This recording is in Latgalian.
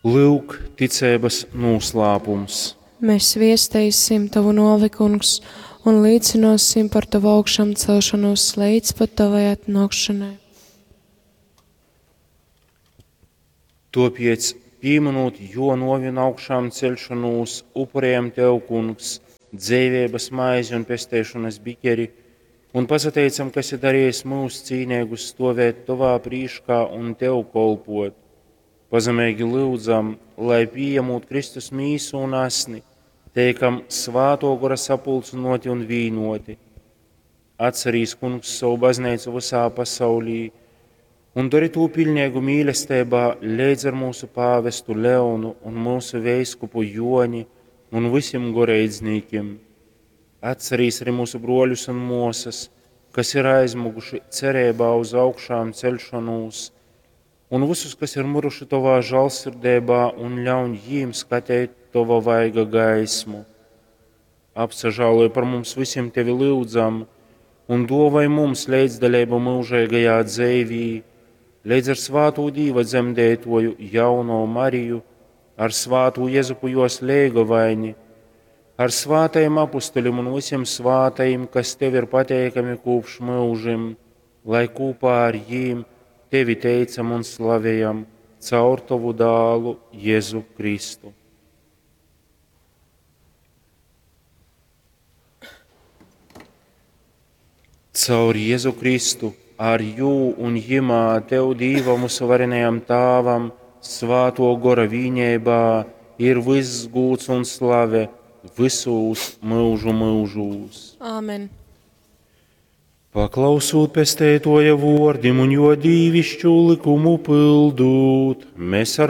Lyuk, ticeibas nūslāpums. Mēs viesteisim tavu nōvi, Kungs, un līcynōsim par tavu augšamcelšonūs leidz pat tavai atnōkšanai. Tōpēc, pīmynūt jō nōvi un augšām ceļšanūs, upurējam tev, Kungs, dzeiveibas maizi un pesteišonas bikeri, un pasateicam, ka esi darījis mūs cīneigus stovēt tovā prīškā un tev kolpot. Pazemeigi lyudzam, lai pījemūt Kristus mīsu un asni, teikam svātō gora sapulcynōti un vīnoti. Atcerīs, Kungs, savu baznīcu visā pasaulī un dari tū piļneigu mīlestībā leidz ar mūsu pāvestu Leonu un mūsu veiskupu Joni un visiem goreidznīkiem. Atcerīs arī mūsu broļus un mosas, kas ir aizmuguši cerībā uz augšām celšanos, un visus, kas ir miruši tovā žālsirdībā, un ļauj jīm skatīt tova vaiga gaismu. Apsažāloj par mums visiem tevi lūdzam, un dāvāj mums līdzdalību mūžīgajā dzīvī, līdz ar svāto Dīva dzemdētoju jauno Mariju, ar svāto Jezupu jos leigovaini, ar svātajiem apustuļiem un visiem svātajiem, kas tev ir pateikami kopš mūžim, lai kopā ar jīm tevi teicam un slavējam caur tavu dālu Jēzu Kristu. Caur Jēzu Kristu, ar jū un jimā tev Dīvam mūsu varenajam Tāvam, svāto gora vīņībā, ir viss gūts un slave visūs mūžu mūžūs. Āmen. Paklausūt pestētoja vordim un jo dīvišķu likumu pildūt, mēs ar